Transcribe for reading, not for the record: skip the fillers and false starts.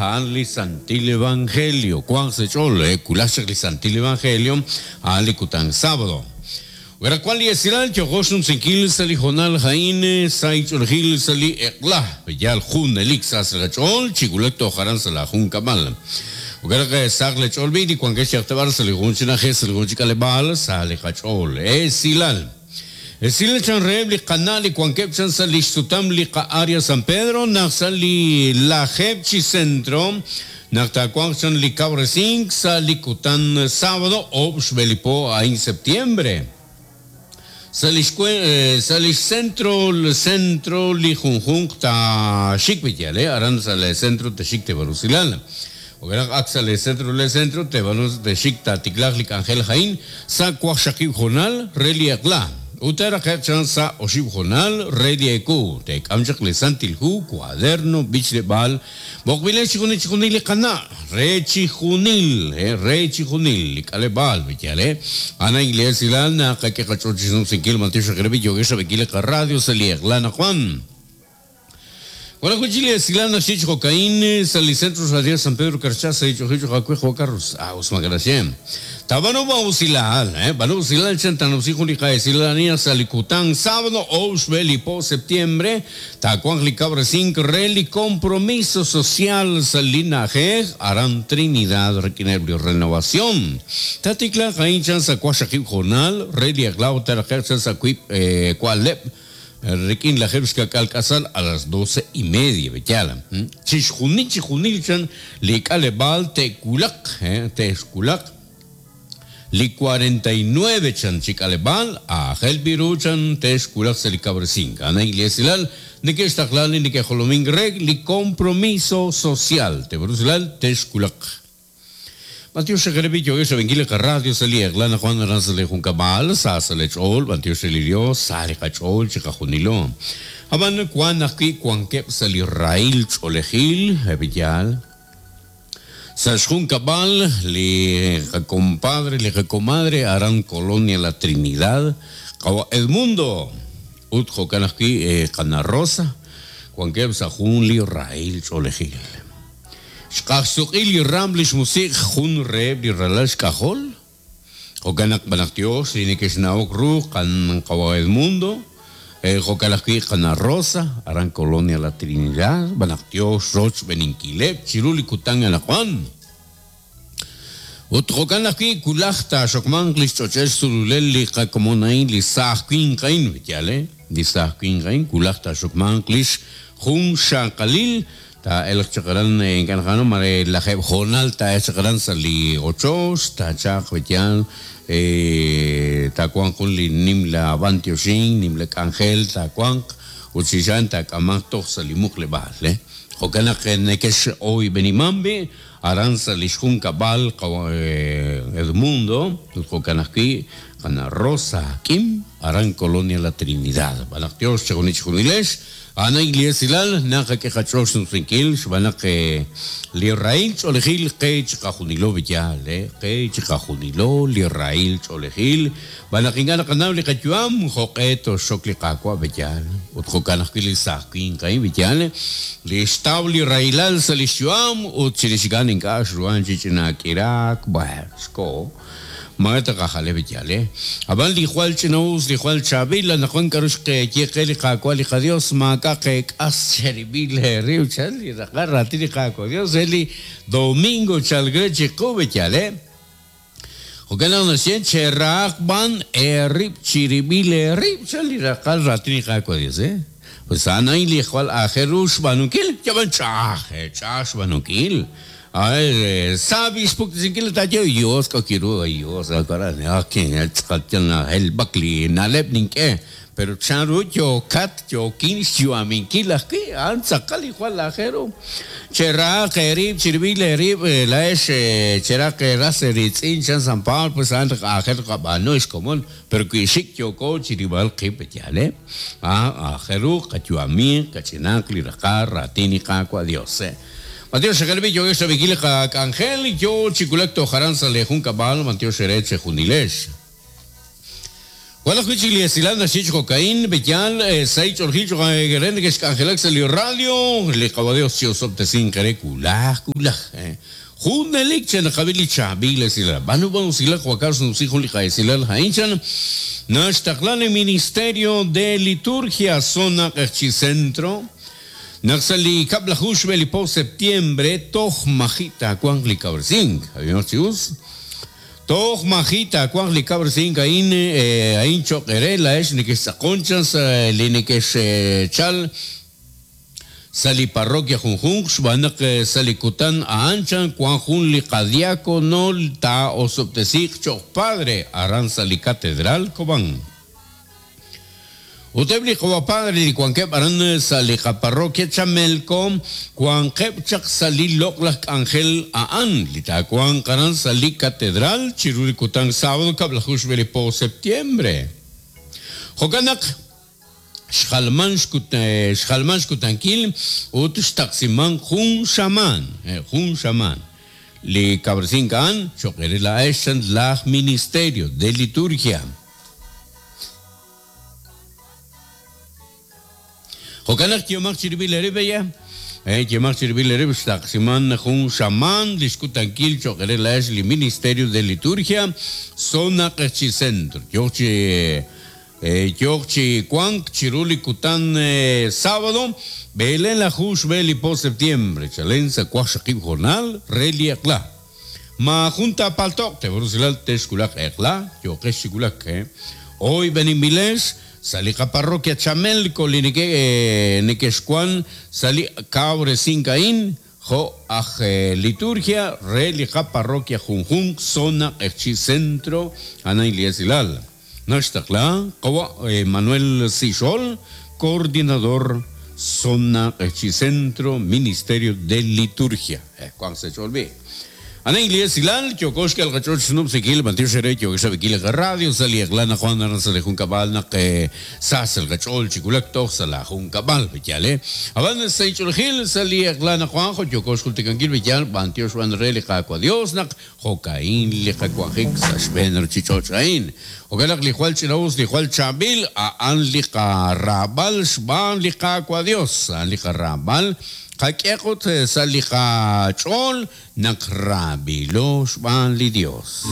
a'an li Santil Evangelio. Wanq sa' eech'ool, wulaj chaq li Santil Evangelio, a'an li kutan sábado. Wulaj wan li esilal yooqo xnumsinkil sa' li hoonal a'in sa' ich'oolejil sa' li eq'la, yaal junelik sa sa' qach'ool chi wulak toj aran sa' laa junkab'al. Jo'kan naq sahaq lee ch'ool b'i' li wankex yalaq ta b'ar sa' li jun chi na'ajej sa' li jun chi k'aleb'aal sa' li qach'ool. Esilal. Esilal chan reheb' li qana' li wankeb' chan sa' li xsutam li qa-Area San Pedro naq sa' li lajeeb' chi centro naq taawanq chan li kawresink sa' li kutan sábado oob' xb'e li po a'in septiembre. Sa' li sa' li xcentro centro li junjunq taaxik wi' yal aran sa' le centro texik teeb'al usilal. Jo'kan naq ak sa' le centro le centro teeb'al texik taatiklaaq li k'anjel a'in sa' waqxaqib' hoonal re li eq'la. Ut taaraqe'q chan sa' oxib' hoonal re li ewu. Teek'am chaq li Santil Hu, cuaderno, b'ichleb'aal, B'oqb'ilex chixjunil chixjunil li qana' re chijunil, re chijunil li k'aleb'aal, yaal e? A'an a'in li esilal naqak'e qach'ool chi xnumsinkil b'antiox reheb' li yookex rab'inkil li qaradio sa' li eq'la anaqwan. Wan ajwi' chik li esilal naxye chi jo'ka'in sa' li Centro Radial San Pedro Carchá sa' li ch'och'il cho'q aawe Juan Carlos. Ah, us maak'a' naxye. Taab'aanu b'an usilal, b'aanu usilal chan taanumsi jun li qa'esilal a'in sa' li kutan sábado oob' xb'e li po septiembre, taawanq li kawresink re li compromiso social sa' li na'ajej aran Trinidad rik'ineb' li renovación. Taatiklaaq a'in chan sa' waqxaqib' hoonal re li eq'la ut taaraqe'q chan sa' wiib' wa'leb' Rik'in lajeeb' xka'k'aal k'asal a las doce y media, b'eyal. Chixjunil chijunil chan li k'aleb'aal te'wulaq, te'xwulaq li 49 chan chi k'aleb'aal, aajel b'i ru chan te'xwulaq sa' li kawresink. A'an a'in li esilal neke'xtaqla li neke'jolomink re li compromiso social, te'rusilal te'xwulaq. B'antiox re li yookex rab'inkil li qaradio sa' li eq'la anaqwan aran sa' li junkab'al, sa sa' lee ch'ool, b'antiox re li Dios, sa li qach'ool chiqajunilo. Ab'an wan ajwi' wankeb' sa' li rahil ch'oolejil, eb' li yaal. Sa' xjunkab'al li qakompadre, li qakomadre aran Colonia La Trinidad, qawa' Edmundo, ut jo'kan ajwi' qana' Rosa, wankeb' sa' jun li rahil ch'oolejil. Xq'axsuq'i li raam lix musiq' jun reheb' li ralal xk'ajol. Jo'kan naq b'anaq Dios li nekexnawok ru qan qawa' Edmundo, jo'kan ajwi' qana' Rosa, aran Colonia La Trinidad, b'anaq Dios rochb'eninkileb' chiru li kutan anaqwan. Ut jo'kan ajwi' wulaj taaxokmanq li xch'och'el xsululel li qakomon a'in, li saaj winq a'in, yaal e, li saaj winq a'in, wulaj taaxokmanq lix junxaqalil, taa'elq chaq aran, ink'a' naqanaw mare lajeeb' hoonal taa'elq chaq aran sa' li ochoch, taachalq yaal, taawanq jun li nimla b'antioxink, nimla k'anjel taawanq, ut chirix a'an taak'amanq toj sa' li muqleb'aal. Jo'kan naq nekex'oyb'eniman b'i' Aran sa' li xjunkab'al qawa' Edmundo ut jo'kan ajwi' qana' Rosa Kim aran Colonia La Trinidad. Xb'aan naq Yos chejunil chejunilex, a'an a'in li esilal naqak'e qach'ool xnumsinkil xb'aan naq li rahil ch'oolejil qe chiqajunilo yaal, qe chiqajunilo li rahil ch'oolejil Xb'aan naq ink'a' naqanaw li qayu'am jo'q'e toxxok li Qaawa' b'eyaal. Ut jo'kan ajwi' li saaj winq a'in b'eyaal, li xtaw li rahilal sa' li xyu'am ut chirix a'an ink'a' xruhan chi ch'ina k'iraak, b'ar xkoho. Maare taqajale b'eyaal, eh? Ab'an li jwal ch'ina'us, li jwal chaab'il, anaqwan k'aru xqeye qe li Qaawa' li qaDios, maak'a' qeek'as cherib'il eerib', chan li raqal raatin li Qaawa' Dios re li domingo chalk re chiqu b'eyaal, eh? Jo'kan naq naxye, Cherahaq b'an eerib' chirib'il eerib', chan li raqal raatin li Qaawa' Dios, eh? Pues a'an a'in li jwal aajel ru xb'aanunkil, yab'an ch'a'aj, eh, ch'a'aj xb'aanunkil. Ay, sa b'i xpuktesinkil li taaye, Dios k'o kiru, Dios, tz'aqal yal nahelb'ak li na'leb' nink'e. Pero chanru yookat, yookin xyu'aminkil ajwi', a'an tz'aqal li jwal aajel ru. Cherahaq eerib' chirib'il eerib', laa'ex cherahaq eeras eeriitz'in, chan San Pablo, pues a'an aajel ru qab'aanu ex komon, pero wi xik' yooko chirib'al qib', yaal e? Aajel ru qayu'amiq, kach'inaq li raqal raatin li Qaawa' Dios. B'antiox xeqeleb'il yookex rab'inkil li qak'anjel, yoo chi wulak toj aran sa' lee junkab'al, b'antiox eere chejunilex. Wan ajwi' chik li esilal naxye chi jo'ka'in, B'eyal, sa' ich'oolejil cho'q re nekexk'anjelak sa' li radio, li Qawa' Dios chi'osob'tesinq eere wulaj wulaj. Junelik chenaqab'i li chaab'il esilal. B'aanu b'an usilal jo'kan xnumsi jun li qa'esilal a'in chan, naxtaqla li Ministerio de Liturgia Zona Q'eqchi' Centro, naq sa' li kab'laju xb'e li po septiembre toj maji' taawanq li kawresink. Ab'ihomaq chi us. Toj maji' taawanq li kawresink a'in, a'in cho'q eere laa'ex nekextz'aqon chan sa' li nekexchal sa' li parroquia junjunq, xb'aan naq sa' li kutan a'an chan wank jun li qadiakono taa'osob'tesiiq cho'q padre aran sa' li Catedral Cobán. Ut eb' li qawa' padre li wankeb' aran sa' li qaparroquia Chamelco wanqeb' chaq sa' li loq'laj k'anjel a'an li taawanq aran sa' li Catedral chiru li kutan sábado kab'laju xb'e li po septiembre. Jo'kan naq xjalman xjalman xkutankil ut xtaqsiman jun xamaan, jun xamaan, li kawresink a'an cho'q eere laa'ex chan laj Ministerio de Liturgia. Jo'kan naq yehomaq chirib'il eerib' ella, yehomaq chirib'il eerib' xtaqsiman jun xamaan li xkutankil cho'q re laa'ex li Ministerio de Liturgia Zona Q'eqchi' Centro. Yooq chi yooq chi wank chiru li kutan sábado b'eleelaju xb'e li po septiembre chalen sa' waqxaqib' hoonal re li eq'la. Maajun taapalto'q teeb'aanu rusilal texwulaq eq'la, yooqex chi wulak. Oyb'eninb'ilex sa' li qaparroquia Chamelco li neke' nekexwan sa' li kawresink a'in jo' aj liturgia re li qaparroquia junjunq zona Q'eqchi' Centro a'an a'in li esilal. Naxtaqla qawa' Manuel Sixol, Coordinador Zona Q'eqchi' Centro, Ministerio de Liturgia. Wank sa' ch'ool b'i'. A'an li esilal, yooko xk'el qach'ool xnub'sinkil, b'antiox eere yookex rab'inkil li qaradio sa' li eq'la naq wan aran sa' li junkab'al naq sa sa' li qach'ool chi wulak toj sa' laa junkab'al, b'eyal e. Ab'an sa' inch'oolejil sa' li eq'la naq wan jo' yooko xjultikankil b'eyal b'antiox b'an re li Qaawa' Dios naq Jo'ka'in li qawanjik sa' xb'een ruchich'och' a'in. Jo'kan naq li jwal ch'ina'us, li jwal chaab'il, a'an li qaraab'al xb'aan li Qaawa' Dios. A'an li qaraab'al qak'e qut sa' li qach'ool naq raab'ilo xb'aan li Dios.